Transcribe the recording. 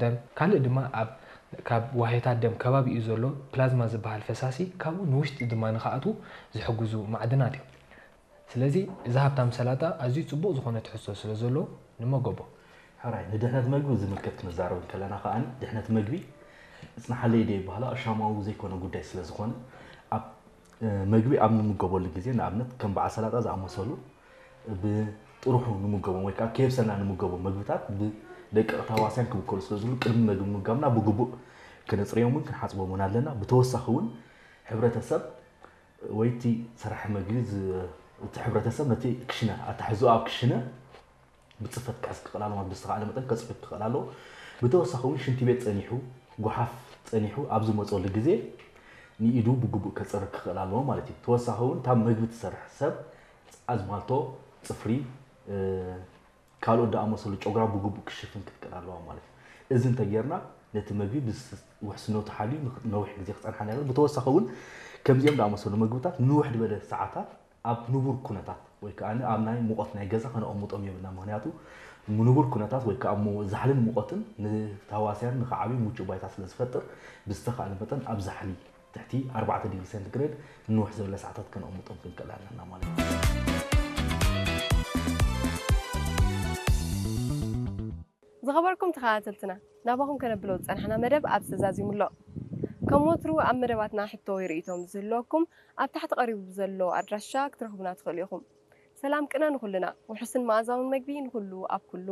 ደም፣ ካልእ ድማ ኣብ ካብ ዋህዮታት ደም ከባቢኡ ዘሎ ፕላዝማ ዝበሃል ፈሳሲ ካብኡ ንውሽጢ ድማ ንኽኣትዉ ዝሕግዙ ማዕድናት እዮም። ስለዚ እዚ ሃብታም ሰላጣ ኣዝዩ ጽቡቕ ዝኾነ ትሕዝቶ ስለ ዘለዎ ንመገቦ። ሕራይ፣ ንድሕነት መግቢ ዝምልከት ክንዛረብ እንከለና ከኣ ድሕነት መግቢ እጽንሓለይ ደይ በሃላ እሻማዊ ዘይኮነ ጉዳይ ስለ ዝኾነ ኣብ መግቢ ኣብ ንምገበሉ ግዜ ንኣብነት ከም በዓል ሰላጣ ዝኣመሰሉ ብጥርሑ ንምገቦም ወይ ከዓ ኬብሰና ንምገቦም መግብታት ብደቂ ተዋስያን ክብከሉ ስለ ዝብሉ ቅድሚ መግቢ ምምጋብና ብግቡእ ክነፅርዮምን ክንሓፅቦምን ኣለና። ብተወሳኺ እውን ሕብረተሰብ ወይ እቲ ሰራሕ መግቢ እቲ ሕብረተሰብ ነቲ ክሽነ ኣታሕዝኦ ኣብ ክሽነ ብፅፈት ክሕዝ ክኽእል ኣለዎ። ብዝተኻእለ መጠን ከፅፍፍ ክኽእል ኣለዎ። ብተወሳኺ እውን ሽንቲ ቤት ፀኒሑ፣ ጓሓፍ ፀኒሑ ኣብ ዝመፀሉ ግዜ ንኢዱ ብግቡእ ከፅርግ ክኽእል ኣለዎ ማለት እዩ። ተወሳኺ እውን እታ መግቢ ትሰርሕ ሰብ ኣዝማልቶ፣ ፅፍሪ፣ ካልኦት ዝኣመሰሉ ጨጉራ ብግቡእ ክሽፍን ክትክእል ኣለዋ ማለት እዩ። እዚ እንተጌርና ነቲ መግቢ ውሕስነቱ ሓልዩ ነዊሕ ግዜ ክፀንሓና ይኽእል። ብተወሳኺ እውን ከምዚኦም ዝኣመሰሉ መግብታት ንውሕ ዝበለ ሰዓታት ኣብ ንቡር ኩነታት ወይ ከዓ ኣብ ናይ ሙቐት ናይ ገዛ ከነቐምጦም የብልና። ምክንያቱ ንቡር ኩነታት ወይ ከዓ ዛሕልን ሙቐትን ንታዋስያን ንክዓብዩ ምቹእ ባይታ ስለ ዝፈጥር ብዝተኻእለ መጠን ኣብ ዛሕሊ ትሕቲ ኣርባዕተ ዲግሪ ሴንቲግሬድ ንንውሕ ዝበለ ሰዓታት ከነቐምጦም ክንክእል ኣለና ማለት እዩ። ዝኸበርኩም ተኸታተልትና ናባኹም ከነብሎ ዝፀናሕና መደብ ኣብዚ ተዛዚሙ ኣሎ። ከም ወትሩ ኣብ መደባትና ሕቶ ወይ ርእይቶም ዝህልወኩም ኣብ ታሕቲ ቀሪቡ ብዘሎ ኣድራሻ ክትረኽቡና ትኽእሉ ኢኹም። ሰላም ቅነ ንኹልና፣ ውሑስን መኣዛውን መግቢ ንኹሉ ኣብ ኩሉ።